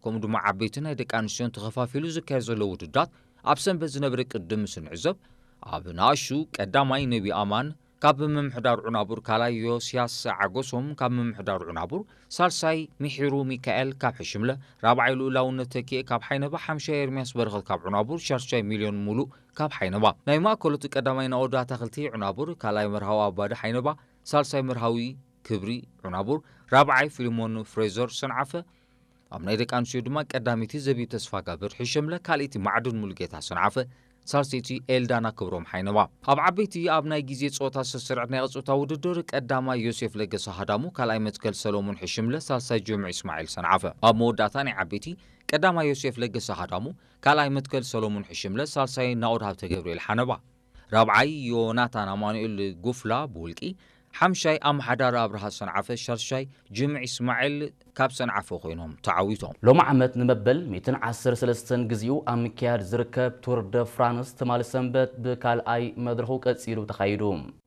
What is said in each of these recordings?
ከምኡ ድማ ዓበይቲ ናይ ደቂ ኣንስትዮን ተኸፋፊሉ ዝካየድ ዘሎ ውድድራት ኣብ ሰንበት ዝነበረ ቅድም ምስ ንዕዘብ፣ ኣብ ንኣሹ ቀዳማይ ነቢ ኣማን፣ ካብ ምምሕዳር ዑናቡር ካልኣይ ዮስያስ ዓጎሶም፣ ካብ ምምሕዳር ዑናቡር ሳልሳይ ሚሒሩ ሚካኤል ካብ ሕሽምለ፣ ራብዓይ ልኡላውነት ተኪኤ ካብ ሓይነባ፣ ሓምሻይ ኤርሚያስ በረኸት ካብ ዑናቡር፣ ሻርሻይ ሚልዮን ሙሉእ ካብ ሓይነባ። ናይ ማእከሎት ቀዳማይ ናኦድ ኣታኽልቲ ዑናቡር፣ ካልኣይ መርሃዊ ኣባዲ ሓይነባ፣ ሳልሳይ መርሃዊ ክብሪ ዑናቡር፣ ራብዓይ ፊልሞን ፍሬዘር ሰንዓፈ፣ ኣብ ናይ ደቂ ኣንስትዮ ድማ ቀዳመይቲ ዘቢብ ተስፋጋብር ሕሸምለ፣ ካልኣይቲ ማዕድን ሙሉጌታ ሰንዓፈ፣ ሳልሰይቲ ኤልዳና ክብሮም ሓይነባ። ኣብ ዓበይቲ ኣብ ናይ ግዜ ጸወታ ዝተሰርዐት ናይ ጾታ ውድድር ቀዳማይ ዮሴፍ ለገሰ ሃዳሙ፣ ካልኣይ መትከል ሰሎሞን ሕሽምለ፣ ሳልሳይ ጅምዕ እስማዒል ሰንዓፈ። ኣብ መወዳእታ ናይ ዓበይቲ ቀዳማይ ዮሴፍ ለገሰ ሃዳሙ፣ ካልኣይ መትከል ሰሎሞን ሕሽምለ፣ ሳልሳይ ናኦድ ሃብተ ገብርኤል ሓነባ፣ ራብዓይ ዮናታን ኣማኑኤል ጉፍላ ብውልቂ፣ ሓምሻይ ኣምሓዳር ኣብርሃ ሰንዓፈ፣ ሻርሻይ ጅምዕ እስማዒል ካብ ሰንዓፈ ኮይኖም ተዓዊቶም። ሎሚ ዓመት ንመበል ሚእትን ዓሰርተ ሰለስተን ግዜኡ ኣብ ምክያድ ዝርከብ ቱር ደ ፍራንስ ትማሊ ሰንበት ብካልኣይ መድረኹ ቀጺሉ ተኻይዱ።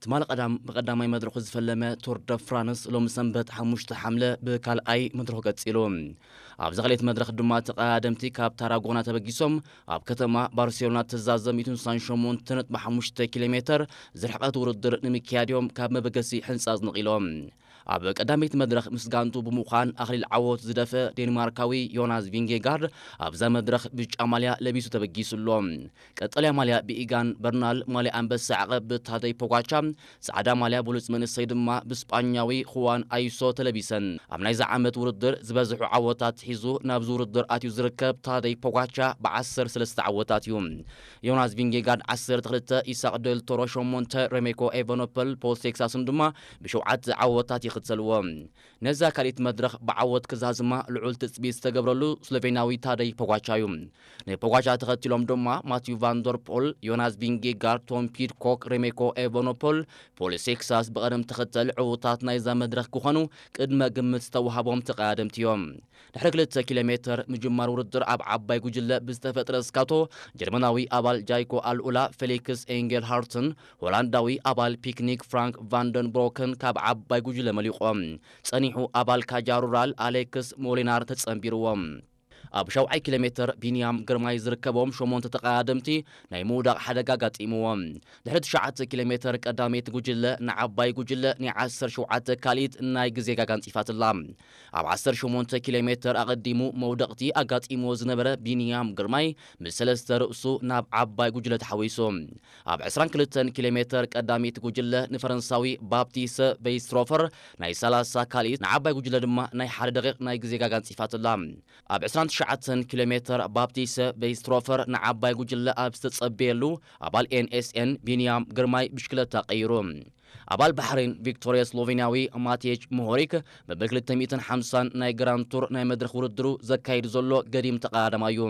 ትማሊ ቀዳም ብቐዳማይ መድረኹ ዝፈለመ ቱር ደ ፍራንስ ሎሚ ሰንበት ሓሙሽተ ሓምለ ብካልኣይ መድረኹ ቀጺሉ። ኣብዚ ካልኣይቲ መድረኽ ድማ ተቐዳደምቲ ካብ ታራጎና ተበጊሶም ኣብ ከተማ ባርሴሎና ተዛዘም ሚእትን ስሳን ሸሞንተ ነጥቢ ሓሙሽተ ኪሎ ሜተር ዝርሕቐት ውድድር ንምክያድ እዮም ካብ መበገሲ ሕንጻጽ ነቒሎም። ኣብ ቀዳመይቲ መድረኽ ምስ ጋንቱ ብምዃን ኣኽሊል ዓወት ዝደፈ ዴንማርካዊ ዮናስ ቪንጌጋርድ ኣብዛ መድረኽ ብጫ ማልያ ለቢሱ ተበጊሱ ኣሎ። ቀጠልያ ማልያ ብኢጋን በርናል፣ ማልያ ኣንበሳ ዓቐብ ብታደይ ፖጋቻ፣ ጻዕዳ ማልያ ብሉጽ መንእሰይ ድማ ብስጳኛዊ ኹዋን ኣይሶ ተለቢሰን። ኣብ ናይዚ ዓመት ውድድር ዝበዝሑ ዓወታት ሒዙ ናብዚ ውድድር ኣትዩ ዝርከብ ታደይ ፖጋቻ ብዓሰርተ ሰለስተ ዓወታት እዩ። ዮናስ ቪንጌጋርድ ዓሰርተ ክልተ፣ ኢሳቅ ደል ቶሮ ሸሞንተ፣ ሬሜኮ ኤቨኖፐል ፖል ቴክሳስን ድማ ብሸውዓተ ዓወታት ይኽተልዎ። ነዛ ካልኣይቲ መድረኽ ብዓወት ክዛዝማ ልዑል ትጽቢት ዝተገብረሉ ስሎቬናዊ ታደይ ፖጋቻ እዩ። ንፖጋቻ ተኸቲሎም ድማ ማቲዩ ቫንደር ፖል፣ ዮናስ ቪንጌጋርድ፣ ቶም ፒድኮክ፣ ሬሜኮ ኤቨኖፖል፣ ፖል ቴክሳስ ብቐደም ተኸተል ዕዉታት ናይዛ መድረኽ ክኾኑ ቅድመ ግምት ዝተዋህቦም ተቐዳደምቲ እዮም። ድሕሪ ክልተ ኪሎ ሜተር ምጅማር ውድድር ኣብ ዓባይ ጉጅለ ብዝተፈጥረ እስካቶ ጀርመናዊ ኣባል ጃይኮ ኣልኡላ ፌሊክስ ኤንጌልሃርትን ሆላንዳዊ ኣባል ፒክኒክ ፍራንክ ቫንደንብሮክን ካብ ዓባይ ጉጅለ መሊቖም። ጸኒሑ ኣባል ካጃ ሩራል ኣሌክስ ሞሊናር ተጸንቢርዎም። ኣብ ሻውዓይ ኪሎ ሜተር ቢንያም ግርማይ ዝርከቦም ሸሞንተ ተቐዳደምቲ ናይ ምውዳቕ ሓደጋ ኣጋጢምዎም። ድሕሪ ትሽዓተ ኪሎ ሜተር ቀዳመይቲ ጉጅለ ንዓባይ ጉጅለ ናይ ዓሰርተ ሸውዓተ ካልኢት ናይ ግዜ ጋጋ ኣንጺፋትላ። ኣብ ዓሰርተ ሸሞንተ ኪሎ ሜተር ኣቐዲሙ መውደቕቲ ኣጋጢምዎ ዝነበረ ቢንያም ግርማይ ምስ ሰለስተ ርእሱ ናብ ዓባይ ጉጅለ ተሓዊሱ። ኣብ ዕስራን ክልተን ኪሎ ሜተር ቀዳመይቲ ጉጅለ ንፈረንሳዊ ባፕቲስ ቬይስትሮፈር ናይ ሰላሳ ካልኢት ንዓባይ ጉጅለ ድማ ናይ ሓደ ደቂቕ ናይ ግዜ ጋጋ ኣንጺፋትላ። ኣብ ዕስራን ትሽዓተን ኪሎ ሜተር ባፕቲስ ቬይስትሮፈር ንዓባይ ጉጅለ ኣብ ዝተጸበየሉ ኣባል ኤን ኤስ ኤን ቢንያም ግርማይ ብሽክለታ ቀይሩ። ኣባል ባሕሬን ቪክቶርያ ስሎቬንያዊ ማቴጅ ሞሆሪክ መበል ክልተ ሚእትን ሓምሳን ናይ ግራንድ ቱር ናይ መድረኽ ውድድሩ ዘካይድ ዘሎ ገዲም ተቐዳዳማይ እዩ።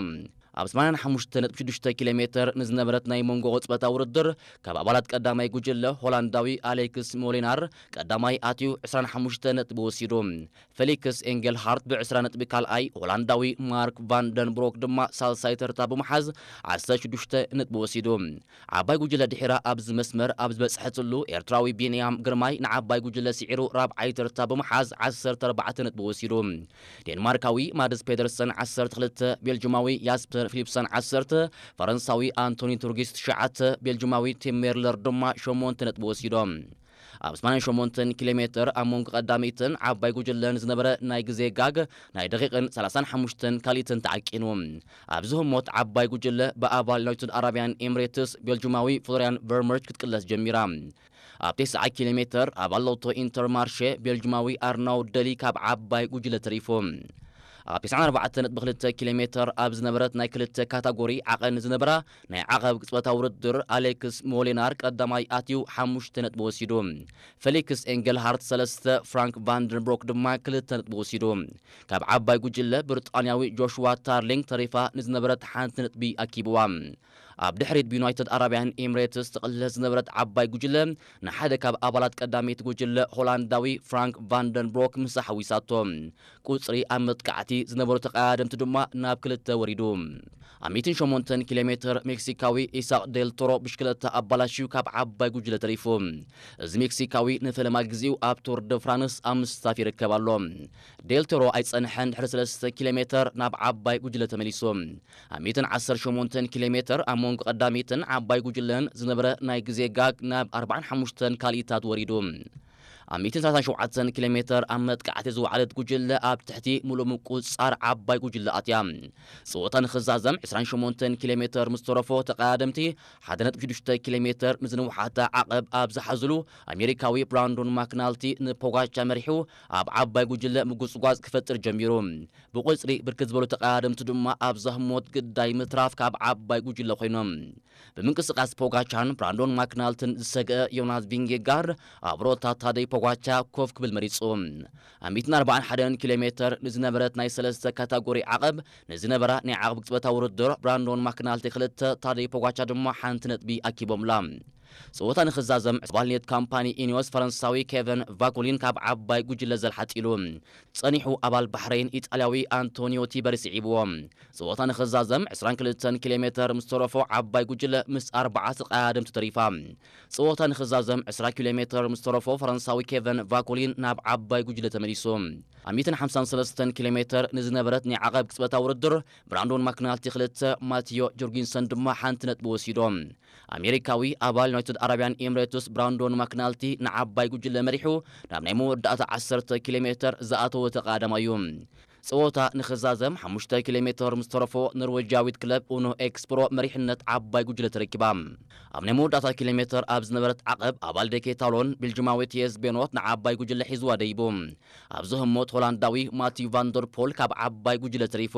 ኣብ ሰማንያን ሓሙሽተ ነጥቢ ሽዱሽተ ኪሎ ሜተር ንዝነበረት ናይ መንጎ ቅጽበታ ውድድር ካብ ኣባላት ቀዳማይ ጉጅለ ሆላንዳዊ ኣሌክስ ሞሊናር ቀዳማይ ኣትዩ ዕስራን ሓሙሽተ ነጥቢ ወሲዱ። ፌሊክስ ኤንጌልሃርት ብዕስራ ነጥቢ ካልኣይ፣ ሆላንዳዊ ማርክ ቫን ደንብሮክ ድማ ሳልሳይ ተርታ ብምሓዝ ዓሰርተ ሽዱሽተ ነጥቢ ወሲዱ። ዓባይ ጉጅለ ድሒራ ኣብዚ መስመር ኣብ ዝበጽሐትሉ ኤርትራዊ ቢንያም ግርማይ ንዓባይ ጉጅለ ስዒሩ ራብዓይ ተርታ ብምሓዝ ዓሰርተ ኣርባዕተ ነጥቢ ወሲዱ። ዴንማርካዊ ማድስ ፔደርሰን ዓሰርተ ክልተ፣ ቤልጅማዊ ያስፐር ፊሊፕሰን ዓሰርተ፣ ፈረንሳዊ ኣንቶኒ ቱርጊስ ትሽዓተ፣ ቤልጅማዊ ቲም ሜርለር ድማ ሸሞንተ ነጥቢ ወሲዶም። ኣብ ሰማንያን ሸሞንተን ኪሎ ሜተር ኣብ መንጎ ቀዳመይትን ዓባይ ጉጅለን ዝነበረ ናይ ግዜ ጋግ ናይ ደቂቕን ሰላሳን ሓሙሽተን ካልኢትን ተዓቂኑ። ኣብዚ ህሞት ዓባይ ጉጅለ ብኣባል ዩናይትድ ኣረብያን ኤምሬትስ ቤልጅማዊ ፍሎርያን ቨርመርች ክትቅለስ ጀሚራ። ኣብ ተስዓ ኪሎ ሜተር ኣባል ሎቶ ኢንተርማርሼ ቤልጅማዊ ኣርናውድ ደሊ ካብ ዓባይ ጉጅለ ተሪፉ። ኣብ ተስዓን ኣርባዕተን ነጥቢ ክልተ ኪሎ ሜተር ኣብ ዝነበረት ናይ ክልተ ካታጎሪ ዓቐን ዝነበራ ናይ ዓቐብ ቅጽበታዊ ውድድር ኣሌክስ ሞሊናር ቀዳማይ ኣትዩ ሓሙሽተ ነጥቢ ወሲዱ። ፌሊክስ ኤንገልሃርት ሰለስተ፣ ፍራንክ ቫንደንብሮክ ድማ ክልተ ነጥቢ ወሲዱ። ካብ ዓባይ ጉጅለ ብሪጣንያዊ ጆሽዋ ታርሊንግ ተሪፋ ንዝነበረት ሓንቲ ነጥቢ ኣኪብዋ። ኣብ ድሕሪት ብዩናይትድ ኣረብያን ኤምሬትስ ትቕለስ ዝነበረት ዓባይ ጉጅለ፣ ንሓደ ካብ ኣባላት ቀዳመይቲ ጉጅለ ሆላንዳዊ ፍራንክ ቫንደንብሮክ ምሳ ሓዊሳቶ። ቁጽሪ ኣብ መጥቃዕቲ ዝነበሩ ተቐዳደምቲ ድማ ናብ ክልተ ወሪዱ። ኣብ ሚእትን ሸሞንተን ኪሎ ሜትር ሜክሲካዊ ኢሳቅ ዴል ቶሮ ብሽክለታ ኣባላሽዩ ካብ ዓባይ ጉጅለ ተሪፉ። እዚ ሜክሲካዊ ንፈለማ ግዜኡ ኣብ ቱር ደ ፍራንስ ኣብ ምስታፍ ይርከብ ኣሎ። ዴል ቶሮ ኣይጸንሐን፣ ድሕሪ ሰለስተ ኪሎ ሜትር ናብ ዓባይ ጉጅለ ተመሊሱ። ኣብ ሚእትን ዓሰርተ ሸሞንተን ኪሎ ሜትር ኣብ መንጎ ቀዳሚትን ዓባይ ጉጅለን ዝነበረ ናይ ግዜ ጋግ ናብ ኣርባዓን ሓሙሽተን ካልኢታት ወሪዱ። ኣብ ሚእትን ሰላሳን ሸውዓተን ኪሎ ሜትር ኣብ መጥቃዕቲ ዝወዓለት ጉጅለ ኣብ ትሕቲ ምሉእ ምቁጽጻር ዓባይ ጉጅለ ኣትያ። ጸወታ ንኽዛዘም ዕስራን ሸሞንተን ኪሎ ሜትር ምስ ተረፎ ተቐዳደምቲ ሓደ ነጥቢ ሽዱሽተ ኪሎ ሜትር ንዝንውሓታ ዓቐብ ኣብ ዝሓዝሉ ኣሜሪካዊ ብራንዶን ማክናልቲ ንፖጋቻ መሪሑ ኣብ ዓባይ ጉጅለ ምጉጽጓዝ ክፈጥር ጀሚሩ። ብቁጽሪ ብርክት ዝበሉ ተቐዳደምቲ ድማ ኣብ ዛህሞት ግዳይ ምትራፍ ካብ ዓባይ ጉጅለ ኮይኖም። ብምንቅስቃስ ፖጋቻን ብራንዶን ማክናልትን ዝሰግአ ዮናስ ቪንጌጋርድ ኣብ ሮታ ታደይ ፖጋቻ ኮፍ ክብል መሪጹ። ኣብ ሚእትን ኣርባዓን ሓደን ኪሎ ሜትር ንዝነበረት ናይ ሰለስተ ካታጎሪ ዓቐብ ንዝነበራ ናይ ዓቐብ ቅጽበታዊ ውድድር ብራንዶን ማክናልቲ ክልተ፣ ታደይ ፖጋቻ ድማ ሓንቲ ነጥቢ ኣኪቦምላ። ጸወታ ንኽዛዘም ኣባል ኔት ካምፓኒ ኢኒዮስ ፈረንሳዊ ኬቨን ቫኮሊን ካብ ዓባይ ጉጅለ ዘልሓጢሉ። ጸኒሑ ኣባል ባሕረይን ኢጣልያዊ ኣንቶኒዮ ቲበሪ ስዒብዎ። ጸወታ ንኽዛዘም ዕስራን ክልተን ኪሎ ሜትር ምስ ተረፎ ዓባይ ጉጅለ ምስ ኣርባዓ ተቐዳደምቲ ተሪፋ። ጸወታ ንኽዛዘም ዕስራ ኪሎ ሜትር ምስ ተረፎ ፈረንሳዊ ኬቨን ቫኮሊን ናብ ዓባይ ጉጅለ ተመሊሱ። ኣብ ሚእትን ሓምሳን ሰለስተን ኪሎ ሜትር ንዝነበረት ናይ ዓቐብ ቅጽበታዊ ውድድር ብራንዶን ማክናልቲ ክልተ፣ ማቲዮ ጆርጊንሰን ድማ ሓንቲ ነጥቢ ወሲዶም። ኣሜሪካዊ ኣባል ዩናይትድ ኣረብያን ኤምሬትስ ብራንዶን ማክናልቲ ንዓባይ ጉጅለ መሪሑ ናብ ናይ መወዳእታ ዓሰርተ ኪሎ ሜትር ዝኣተወ ተቐዳዳማይ እዩ። ጸወታ ንኽዛዘም ሓሙሽተ ኪሎ ሜትር ምስ ተረፎ ኖርዌጃዊት ክለብ ኡኖ ኤክስፕሮ መሪሕነት ዓባይ ጉጅለ ተረኪባ። ኣብ ናይ መወዳእታ ኪሎ ሜትር ኣብ ዝነበረት ዓቐብ ኣባል ደኬታሎን ቤልጅማዊ ቲየስ ቤኖት ንዓባይ ጉጅለ ሒዝዋ ደይቡ። ኣብዚ ህሞት ሆላንዳዊ ማቲዩ ቫንደር ፖል ካብ ዓባይ ጉጅለ ተሪፉ።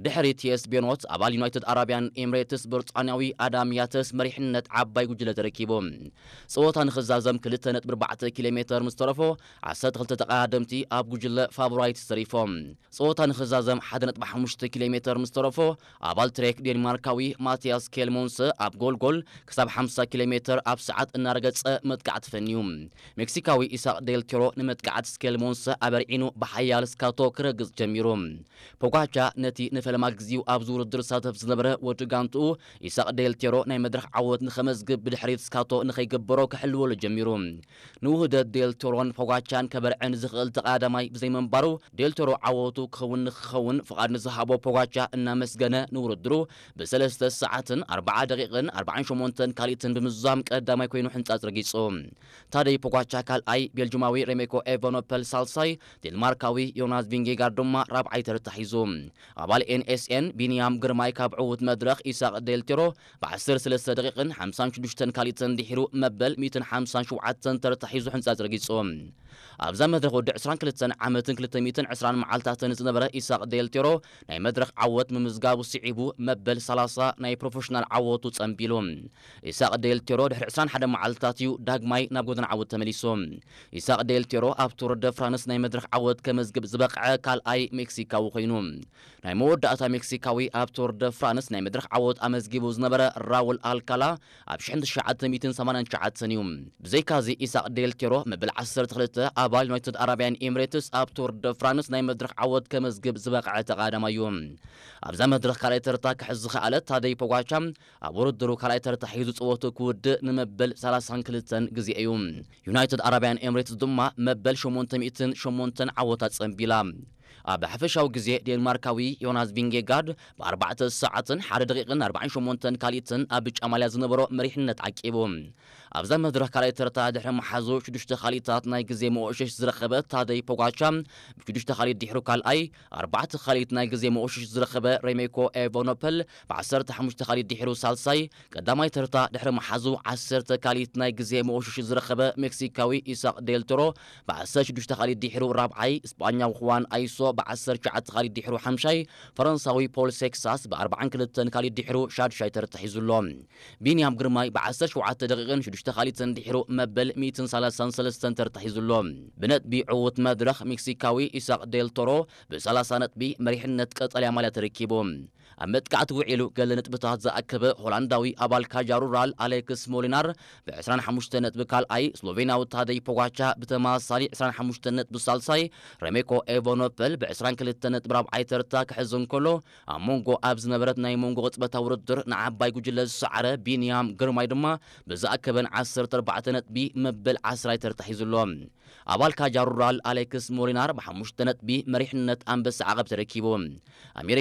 ድሕሪ ቲየስ ቤኖት ኣባል ዩናይትድ ኣረብያን ኤምሬትስ ብሪጣንያዊ ኣዳም ያተስ መሪሕነት ዓባይ ጉጅለ ተረኪቡ። ጸወታ ንኽዛዘም ክልተ ነጥቢ ኣርባዕተ ኪሎ ሜትር ምስ ተረፎ ዓሰርተ ክልተ ተቐዳደምቲ ኣብ ጉጅለ ፋቮራይትስ ተሪፎም። ጸወታ ንኽዛዘም ሓደ ነጥቢ ሓሙሽተ ኪሎ ሜትር ምስ ተረፎ ኣባል ትሬክ ዴንማርካዊ ማቲያስ ኬልሞንሰ ኣብ ጎልጎል ክሳብ ሓምሳ ኪሎ ሜትር ኣብ ሰዓት እናረገጸ መጥቃዕቲ ፈንዩ። ሜክሲካዊ ኢሳቅ ዴል ቴሮ ንመጥቃዕቲ ስኬልሞንሰ ኣበርዒኑ ብሓያል ስካቶ ክረግጽ ጀሚሩ። ፖጋቻ ነቲ ንፈለማ ግዜኡ ኣብዚ ውድድር ዝሳተፍ ዝነበረ ወዲ ጋንትኡ ኢሳቅ ዴል ቴሮ ናይ መድረኽ ዓወት ንኸመዝግብ ብድሕሪት ስካቶ ንኸይገበሮ ክሕልወሉ ጀሚሩ። ንውህደት ዴል ቴሮን ፖጋቻን ከበርዕን ዝኽእል ተቐዳዳማይ ብዘይምንባሩ ዴል ቴሮ ዓወቱ ክኸውን ንክኸውን ፍቓድ ንዝሃቦ ፖጋቻ እናመስገነ ንውድድሩ ብሰለስተ ሰዓትን ኣርባዓ ደቂቕን ኣርባዓን ሸሞንተን ካልኢትን ብምዝዛም ቀዳማይ ኮይኑ ሕንጻጽ ረጊጹ። ታደይ ፖጋቻ ካልኣይ፣ ቤልጅማዊ ሬሜኮ ኤቨኖፐል ሳልሳይ፣ ዴንማርካዊ ዮናስ ቪንጌጋርድ ድማ ራብዓይ ተርታ ሒዙ። ኣባል ኤንኤስኤን ቢንያም ግርማይ ካብ ዕዉት መድረኽ ኢሳቕ ዴልቴሮ ብዓሰርተ ሰለስተ ደቂቕን ሓምሳን ሽዱሽተን ካልኢትን ድሒሩ መበል ሚእትን ሓምሳን ሸውዓተን ተርታ ሒዙ ሕንጻጽ ረጊጹ። ኣብዛ መድረኽ ወዲ ዕስራን ክልተን ዓመትን ክልተ ሚእትን ዕስራን መዓልታትን ዝነበረ ኢሳቕ ዴልቴሮ ናይ መድረኽ ዓወት ምምዝጋቡ ስዒቡ መበል ሰላሳ ናይ ፕሮፌሽናል ዓወቱ ጸንቢሉ። ኢሳቕ ዴልቴሮ ድሕሪ ዕስራን ሓደን መዓልትታት እዩ ዳግማይ ናብ ጎደና ዓወት ተመሊሱ። ኢሳቕ ዴልቴሮ ኣብ ቱር ደ ፍራንስ ናይ መድረኽ ዓወት ከመዝግብ ዝበቕዐ ካልኣይ ሜክሲካዊ ኮይኑ። ናይ መወዳእታ ሜክሲካዊ ኣብ ቱር ደ ፍራንስ ናይ መድረኽ ዓወት ኣመዝጊቡ ዝነበረ ራውል ኣልካላ ኣብ ሽሕን ትሽዓተ ሚእትን ሰማንያን ትሽዓተን እዩ። ብዘይካዚ ኢሳቕ ዴልቴሮ መበል ዓሰርተ ክልተ ኣባል ዩናይትድ ኣረብያን ኤምሬትስ ኣብ ቱር ደ ፍራንስ ናይ መድረኽ ዓወት ከመዝግብ ዝበቕዐ ተቐዳዳማይ እዩ። ኣብዛ መድረኽ ካልኣይ ተርታ ክሕዝ ዝኸኣለ ታደይ ፖጋቻ ኣብ ውድድሩ ካልኣይ ተርታ ሒዙ ጸወቱ ክውድእ ንመበል ሰላሳን ክልተን ግዜ እዩ። ዩናይትድ ኣረብያን ኤምሬትስ ድማ መበል ሸሞንተ ሚእትን ሸሞንተን ዓወታ ጸንቢላ። ኣብ ሓፈሻዊ ግዜ ዴንማርካዊ ዮናስ ቪንጌጋርድ ብኣርባዕተ ሰዓትን ሓደ ደቂቕን ኣርባዓን ሸሞንተን ካልኢትን ኣብ ብጫ ማልያ ዝነበሮ መሪሕነት ዓቂቡ። ኣብዛ መድረኽ ካልኣይ ተርታ ድሕሪ መሓዙ ሽዱሽተ ካልኢታት ናይ ግዜ መወሸሽ ዝረኸበ ታደይ ፖጋቻ ብሽዱሽተ ካልኢት ድሕሩ ካልኣይ፣ ኣርባዕተ ካልኢት ናይ ግዜ መወሸሽ ዝረኸበ ሬሜኮ ኤቨኖፐል ብዓሰርተ ሓሙሽተ ካልኢት ድሕሩ ሳልሳይ፣ ቀዳማይ ተርታ ድሕሪ መሓዙ ዓሰርተ ካልኢት ናይ ግዜ መወሸሽ ዝረኸበ ሜክሲካዊ ኢሳቕ ዴልቶሮ ብዓሰርተ ሽዱሽተ ካልኢት ድሕሩ ራብዓይ፣ ስጳኛዊ ኹዋን ኣይሶ ብዓሰርተ ትሽዓተ ካልኢት ድሕሩ ሓምሻይ፣ ፈረንሳዊ ፖል ሴክሳስ ብኣርባዓን ክልተን ካልኢት ድሕሩ ሻድሻይ ተርታ ሒዙ ኣሎ። ቢንያም ግርማይ ብዓሰርተ ሸውዓተ ደቂቕን ሽዱሽተ ካልኢትን ድሕሩ መበል ሚእትን ሰላሳን ሰለስተን ተርታ ሒዙ ኣሎ። ብነጥቢ ዕዉት መድረኽ ሜክሲካዊ ኢሳቕ ዴልቶሮ ብሰላሳ ነጥቢ መሪሕነት ቀጠልያ ማልያ ተረኪቡ። ኣብ መጥቃዕቲ ውዒሉ ገለ ነጥብታት ዝኣከበ ሆላንዳዊ ኣባል ካጃ ሩራል ኣሌክስ ሞሊናር ብ ዕስራን ሓሙሽተ ነጥቢ ካልኣይ፣ ስሎቬንያዊ ታደይ ፖጋቻ ብተመሳሳሊ ዕስራን ሓሙሽተ ነጥቢ ሳልሳይ፣ ረሜኮ ኤቨኖፐል ብ ዕስራን ክልተ ነጥቢ ራብዓይ ተርታ ክሕዝ እንከሎ፣ ኣብ መንጎ ኣብ ዝነበረት ናይ መንጎ ቅጽበታዊ ውድድር ንዓባይ ጉጅለ ዝሰዓረ ቢንያም ግርማይ ድማ ብዝኣከበን ዓሰርተ ኣርባዕተ ነጥቢ መበል ዓስራይ ተርታ ሒዙ ኣሎ። ኣባል ካጃ ሩራል ኣሌክስ ሞሊናር ብሓሙሽተ ነጥቢ መሪሕነት ኣንበሳ ዓቐብ ተረኪቡ። ኣሜሪካ